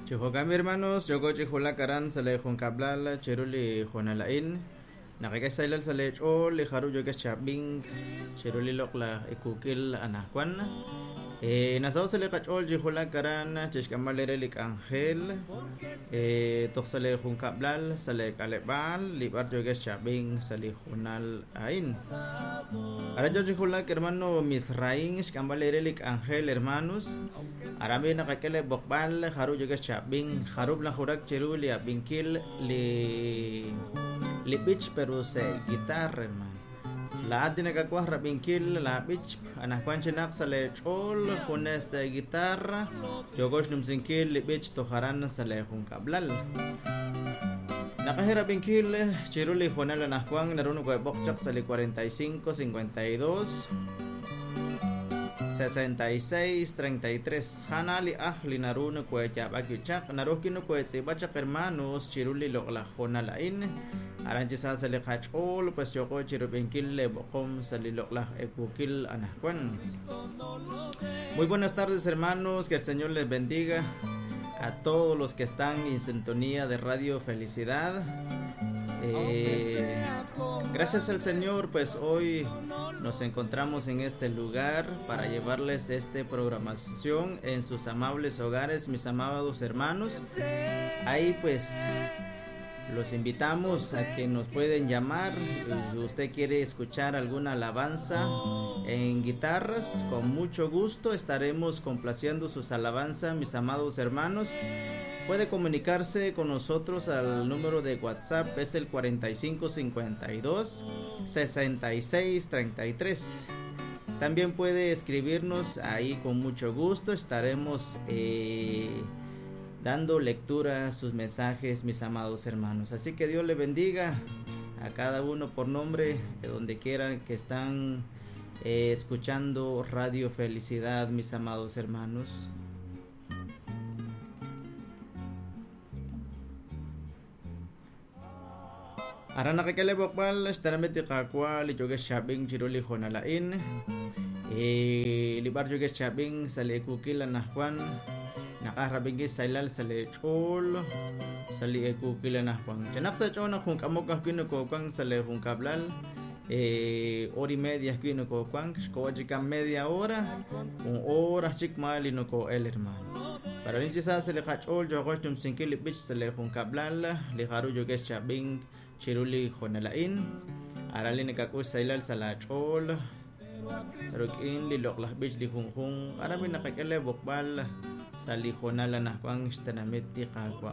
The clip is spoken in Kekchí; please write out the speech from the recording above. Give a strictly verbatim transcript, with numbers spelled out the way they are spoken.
Chihokam hermanos, yoko chihulak aran sale junkablal chiruli jonalain. Nakaka sailal sale ch'ol li jaru yokex chabing chiruli loqla ikukil anajwan. Eh, nasaw sale qach'ol chihulak aran chixk'amal ere lik angel. Eh, toj sale junkablal sale kalebal li bar yokex chabing sale junal ain. Aran yo chihulak hermano Misraín xk'amal ere lik angel hermanos. Arami nakakele bokbal jaru yokex chabing jarub la jurak chiruli abinkil li li bich pero se guitarra hermano. La ati nakakuaj rabinkil la bich anajwan chinaq sale ch'ol junes guitarra yokox numsinkil li bich tojaran sale junkablal. Nakaje rabinkil chiruli jonal anajwan naruno kuebokchak sale cuarenta y cinco cincuenta y dos sesenta y seis treinta y tres. Hanali ahli naruno kuechabakichak narukino kuetzibachak hermanos chiruli loqla jonalain. Aranchisa sale khachol pues yoko chirubinkil le bokom sale loqla ekukil anajwan. Muy buenas tardes hermanos, que el Señor les bendiga a todos los que están en sintonía de Radio Felicidad. Eh, gracias al Señor, pues hoy nos encontramos en este lugar para llevarles esta programación en sus amables hogares, mis amados hermanos. Ahí pues los invitamos a que nos pueden llamar si usted quiere escuchar alguna alabanza en guitarras. Con mucho gusto estaremos complaciendo sus alabanzas, mis amados hermanos. Puede comunicarse con nosotros al número de WhatsApp, es el cuarenta y cinco cincuenta y dos sesenta y seis treinta y tres. También puede escribirnos ahí, con mucho gusto estaremos eh, dando lectura a sus mensajes, mis amados hermanos. Así que Dios le bendiga a cada uno por nombre, de donde quiera que están eh, escuchando Radio Felicidad, mis amados hermanos. Aran nakikele bokbal estarameti kakwa li joge shabing chiruli jonalain eh libar joge shabing sale kukil anahwan nakarabingi sailal sale chol sale kukil anahwan chanak sa chona jun kamok kino kokang sale jun kablal eh hora y media kino kokang xkowachika media hora un hora chik mali no ko el hermano. Para linchi sa sale kachol jogosh tumsinkil bich sale jun kablal li haru joge shabing chiruli jonalain arali nakakus sailal salachol rukin li loklah bich li junjun arami nakakele bokbal sali jonala nahkwang xtanamit ti qaqwa.